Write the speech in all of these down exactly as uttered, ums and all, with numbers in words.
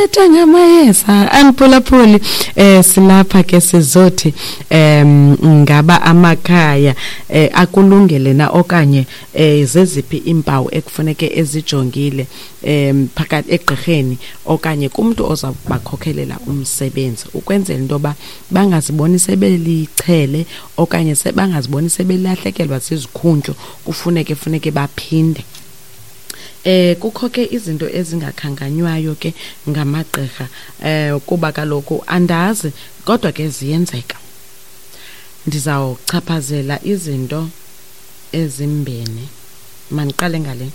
Sithetha ngamayeza, mphulaphuli. eh silapha ke sizothi em ngaba amakhaya eh akulungele na, okanye eh zeziphi impawu ekufuneke ezijongile em phakathi egqirheni okanye kumuntu oza kubakhokhelela umsebenzi, ukwenzela into yoba bangaziboni sebelichele okanye bangaziboni sebelahlekelwa zizikhundlo, kufuneke funeke baphinde. Eh kukho ke izinto ezingakhankanywayo ke ngamagqirha, eh kuba kaloku andazi, kodwa ke ziyenzeka. Ndizawuchaphazela izinto ezimbini. Mandiqale ngale.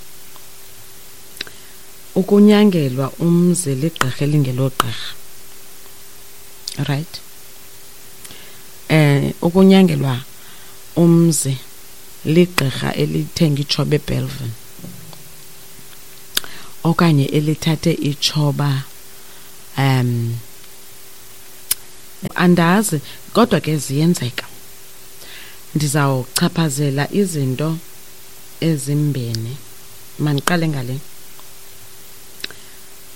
Ukunyangelwa umzi ligqirha elingelogqirha. Right? Eh ukunyangelwa umzi ligqirha elithenga itshoba eBellville okanye elithathe itshoba, um andazi, kodwa ke ziyenzeka. Ndizawuchaphazela izinto ezimbini. Mandiqale ngale.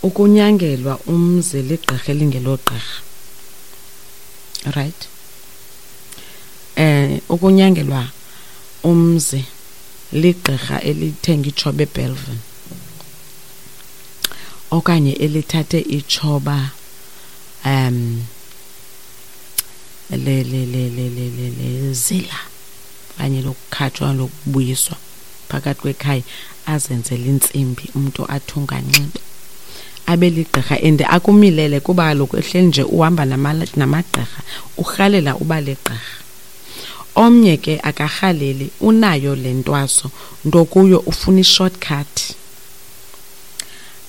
Ukunyangelwa umzi ligqirha elingelogqirha. Right? Eh ukunyangelwa umzi ligqirha elithenga itshoba eBellville okanye elithathe itshoba um le le le le le le lezila okanye lokukhatshwa, lokubuyiswa phakathi kwekhaya, azenzele intsimbi, umntu athunga, anxibe, abe ligqirha and akumilele, kuba kaloku ehleli nje uhamba namagqirha, urhalela uba ligqirha. Omnye ke akarhaleli, unayo le ntwaso, nto kuyo ufuna i-shortcut.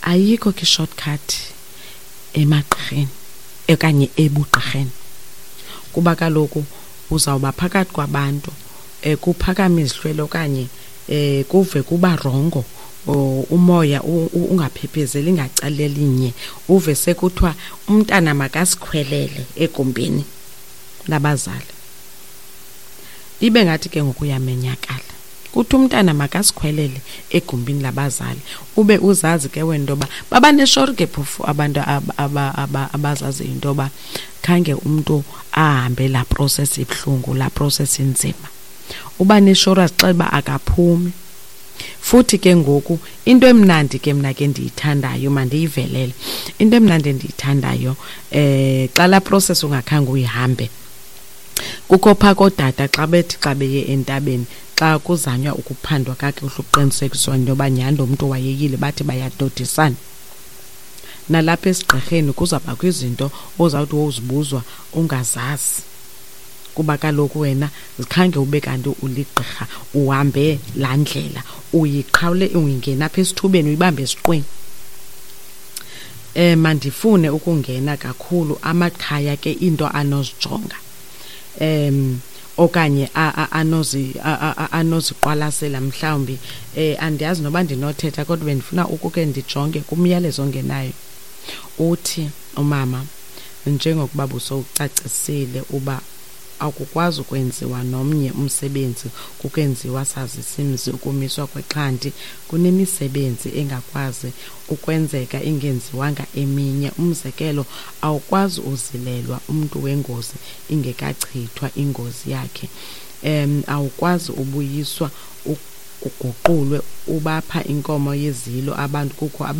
Ayikho ke i-shortcut emagqirheni okanye ebugqirheni, kuba kaloku uzawuba phakathi kwabantu, um kuphakame izihlwele okanye um kuve kuba rongo, umoya ungaphephezeli ngacala elinye, uve sekuthiwa umntana makasikhwelele egumbini labazali. Ibe ngathi ke ngoku uyamenyakala. Kuthi umntana makasikhwelele egumbini labazali, ube uzazi ke wena into yoba babaneshori ke phofu abantu abazaziyo into yoba khange umntu ahambe laa process ibuhlungu, laa process inzima. Uba neshori, azixele uba akaphumi. Futhi ke ngoku into emnandi ke mna ke ndiyithandayo, mandiyivelele, into emnandi endiyithandayo, eh xa laa process ungakhange uyihambe, kukho phaa kootata xa bethi xa beye entabeni, xa kuzanywa ukuphandwa kakuhle ukuqinisekiswa into yoba nyhani lo mntu wayeyile, bathi bayadodisana. Nalapha esigqirheni kuzawubakho izinto ozawuthi wozibuzwa ungazazi, kuba kaloku wena khange ube kanti uligqirha, uhambe laa ndlela, uyiqhawule, uyingena apha esithubeni, uyibambe esiqwini. Eh mandifune ukungena kakhulu amakhaya ke, into anozijonga em okanye anozi anoziqwalasela mhlawumbi. eh andiyazi noba ndinothetha, kodwa bendifuna ukuke ndijonge kumyalezo ongenayo. Uthi umama, njengokuba busowucacisile uba akukwazi ukwenziwa nomnye umsebenzi kukenziwa sazisimzi ukumiswa kwexhanti, kunemisebenzi engakwazi ukwenzeka ingenziwanga eminye. Umzekelo, awukwazi uzilelwa umntu wengozi ingekachithwa ingozi yakhe. um awukwazi ubuyiswa uguqulwe ubapha inkomo yezilo abantu kukho.